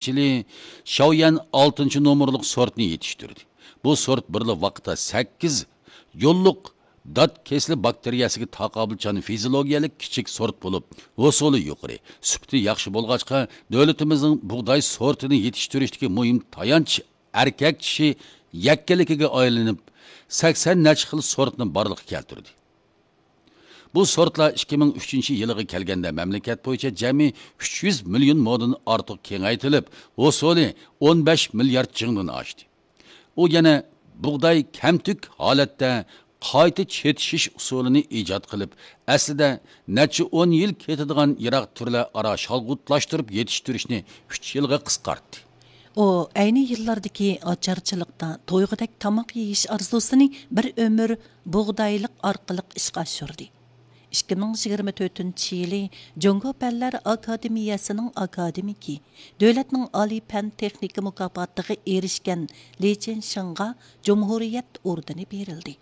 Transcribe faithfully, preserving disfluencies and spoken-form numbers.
يىلى شاۋيەن ئالتىنچى نومۇرلۇق سورتنى يېتىشتۈردى. بۇ سورت بىرلا ۋاقىتتا سەككىز يوللۇق دات كېسىلى باكتېرىيەسىگە تاقابىلچان فىزىولوگىيەلىك كىچىك سورت بولۇپ، ھوسۇلى يۇقىرى، سۈپىتى ياخشى بولغاچقا، دۆلىتىمىزنىڭ بۇغداي سورتىنى يېتىشتۈرۈشتىكى مۇھىم تايانچ ئەركەك چىشى يەككىلىكىگە ئايلىنىپ، سەكسەن نەچچە خىل سورتنى بارلىققا كەلتۈردى. بۇ سورتلار ئىككى مىڭ ئۈچىنچى يىلىغا كەلگەندە مەملىكەت بويىچە جەمئىي ئۈچ يۈز مىليون مودىن ئارتۇق كېڭەيتىلىپ، ھوسۇلى ئون بەش مىليارد جىڭدىن ئاشتى. ئۇ يەنە بۇغداي كەمتۈك ھالەتتە قايتا چېتىشىش ئۇسۇلىنى ئىجاد قىلىپ، ئەسلىدە نەچچە ئون يىل كېتىدىغان يىراق تۈرلەر ئارا شالغۇتلاشتۇرۇپ يېتىشتۈرۈشنى ئۈچ يىلغا قىسقارتتى. ئۇ ئەينى يىللاردىكى ئاچارچىلىقتا تويغۇدەك تاماق يېيىش ئارزۇسىنى بىر ئۆمۈر بۇغدايلىق ئارقىلىق ئىشقا ئاشۇردى. ئىككى مىڭ يىگىرمە تۆتىنچى يىلى جۇڭگو پەنلەر ئاكادېمىيەسىنىڭ ئاكادېمىكى، دۆلەتنىڭ ئالىي پەن تېخنىكا مۇكاپاتىغا ئېرىشكەن لى چېنشىڭغا جۇمھۇرىيەت ئوردېنى بېرىلدى.